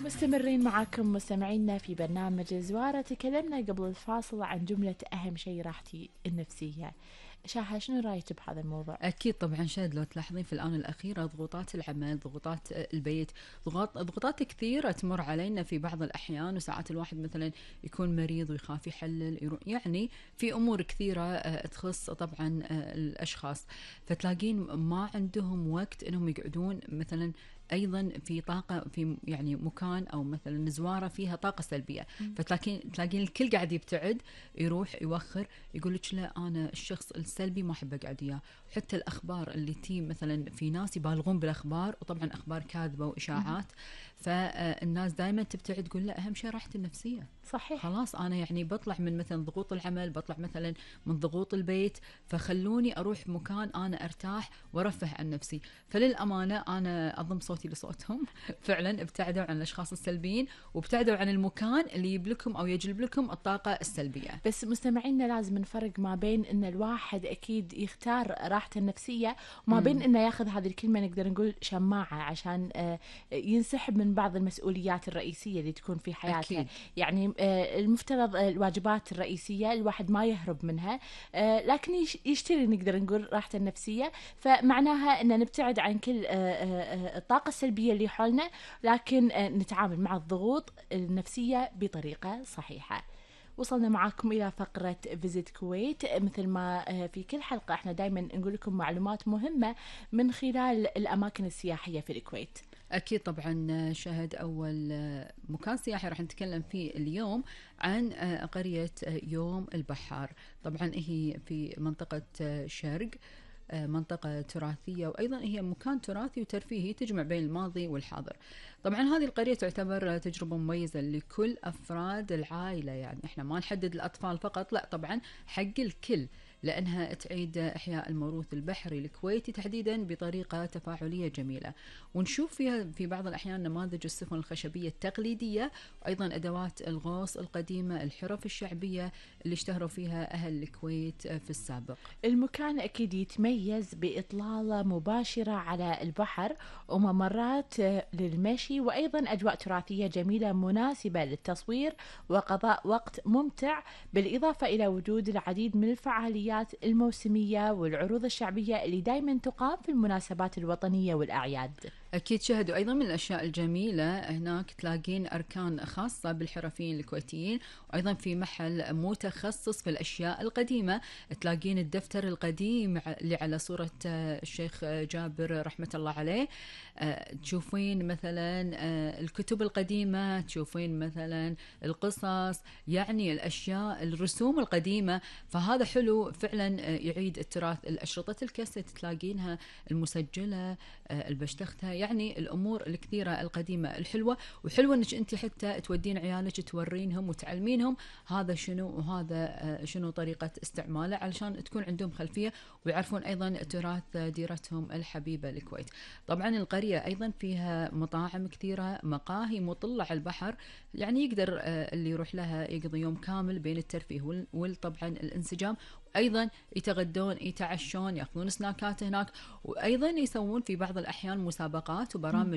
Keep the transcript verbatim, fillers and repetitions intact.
مستمرين معاكم مستمعينا في برنامج زوارة. تكلمنا قبل الفاصل عن جملة أهم شيء راحتي النفسية. شاهة، شنو رايك بهذا الموضوع؟ أكيد طبعا شاهد، لو تلاحظين في الآونة الأخيرة ضغوطات العمل، ضغوطات البيت، ضغوط ضغوطات كثيرة تمر علينا في بعض الأحيان، وساعات الواحد مثلا يكون مريض ويخاف يحلل، يعني في أمور كثيرة تخص طبعا الأشخاص، فتلاقين ما عندهم وقت إنهم يقعدون مثلا ايضا في طاقه في يعني مكان او مثلا زواره فيها طاقه سلبيه، فتلاقين تلاقين الكل قاعد يبتعد، يروح يوخر، يقول لك لا انا الشخص السلبي ما احب اقعد وياه. حتى الاخبار اللي تي مثلا، في ناس يبالغون بالاخبار، وطبعا اخبار كاذبه واشاعات، فالناس دائما تبتعد، تقول لا اهم شيء راحتي النفسيه. صحيح. خلاص انا يعني بطلع من مثلا ضغوط العمل، بطلع مثلا من ضغوط البيت، فخلوني اروح مكان انا ارتاح وارفه عن نفسي. فللامانه انا اضم صوتي لصوتهم فعلا ابتعدوا عن الاشخاص السلبيين، وابتعدوا عن المكان اللي يجيب لكم او يجلب لكم الطاقه السلبيه. بس مستمعينا لازم نفرق ما بين ان الواحد اكيد يختار راحته النفسيه، وما بين انه ياخذ هذه الكلمه نقدر نقول شماعه عشان ينسحب من بعض المسؤوليات الرئيسيه اللي تكون في حياته. أكيد. يعني المفترض الواجبات الرئيسيه الواحد ما يهرب منها، لكن يشتري نقدر نقول راحته النفسيه، فمعناها ان نبتعد عن كل الطاقه السلبيه اللي حولنا، لكن نتعامل مع الضغوط النفسيه بطريقه صحيحه. وصلنا معاكم إلى فقرة فيزيت كويت. مثل ما في كل حلقة احنا دايما نقول لكم معلومات مهمة من خلال الأماكن السياحية في الكويت. أكيد طبعا شهد، أول مكان سياحي راح نتكلم فيه اليوم عن قرية يوم البحار. طبعا هي في منطقة شرق، منطقة تراثية، وأيضا هي مكان تراثي وترفيهي تجمع بين الماضي والحاضر. طبعا هذه القرية تعتبر تجربة مميزة لكل أفراد العائلة، يعني احنا ما نحدد الأطفال فقط، لا طبعا حق الكل، لأنها تعيد إحياء الموروث البحري الكويتي تحديدا بطريقة تفاعلية جميلة، ونشوف فيها في بعض الأحيان نماذج السفن الخشبية التقليدية، وأيضا أدوات الغوص القديمة، الحرف الشعبية اللي اشتهروا فيها أهل الكويت في السابق. المكان أكيد يتميز بإطلالة مباشرة على البحر، وممرات للمشي، وأيضا أجواء تراثية جميلة مناسبة للتصوير وقضاء وقت ممتع، بالإضافة إلى وجود العديد من الفعاليات الموسمية والعروض الشعبية اللي دايما تقام في المناسبات الوطنية والأعياد. أكيد شاهدوا، أيضا من الأشياء الجميلة هناك تلاقين أركان خاصة بالحرفيين الكويتيين، وأيضا في محل متخصص في الأشياء القديمة، تلاقين الدفتر القديم اللي على صورة الشيخ جابر رحمة الله عليه، تشوفين مثلا الكتب القديمة، تشوفين مثلا القصص، يعني الأشياء الرسوم القديمة، فهذا حلو فعلا يعيد التراث. الأشرطة الكاسيت تلاقينها المسجلة، البشتختة، يعني الأمور الكثيرة القديمة الحلوة، وحلوة أنك أنت حتى تودين عيالك تورينهم وتعلمينهم هذا شنو وهذا شنو طريقة استعماله، علشان تكون عندهم خلفية ويعرفون أيضا تراث ديرتهم الحبيبة الكويت. طبعا القرية أيضا فيها مطاعم كثيرة، مقاهي مطلة على البحر، يعني يقدر اللي يروح لها يقضي يوم كامل بين الترفيه وطبعا الانسجام، أيضا يتغدون يتعشون يأخذون سناكات هناك، وأيضا يسوون في بعض الأحيان مسابقات وبرامج